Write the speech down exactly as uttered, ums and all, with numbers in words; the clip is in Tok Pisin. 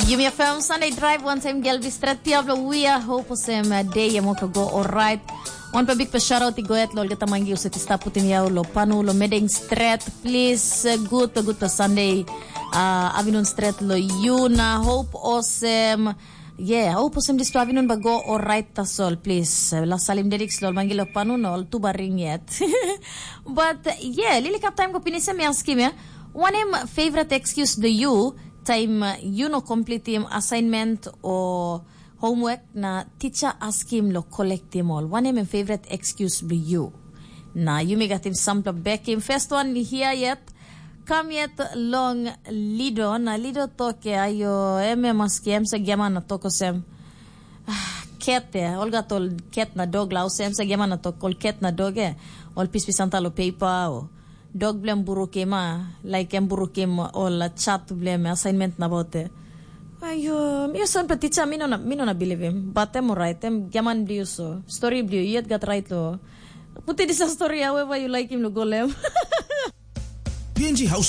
Yumi F M Sunday Drive, wantaim Gelbi Stret, Diablo Wia, hope osem uh, day em wok go alright. Wanpela bikpela shout out i go yet lo olgeta mangi uset i stap putim yau lo panu lo medeng stret. Please, uh, good pe good pe Sunday uh, avinun stret lo yu na hope osem. Yeah, hope osem dispela avinun ba go alright tasol, please. Uh, la salim dedik lo mangi lo panu no ol tuba ring yet. But uh, yeah, lili kap time ko pinisem yaskim ya. Wanem favorite excuse do you time uh, you no completim assignment o homework na teacher askim lo collectim ol. Wanem em favorite excuse bilong you? Na yumi gatim sampela bekim. First one here yet. Kam yet long Lido. Na Lido toke ayo em em aski em se giaman na toko sem. Ah, ket e, ol gat ol ket na dog la, ose em se giaman na tok ol ket na dog e. Ol pispis anta lo pepa o dog blem burukim a, like em burukim ol chat blem assignment na bote. Ayo, mi son pe teacher mi no na mi no na believe him, but em alright, em giaman bliu so. Story bliu, yet gat right lo. Puti disa story however you like him lo golem. P N G House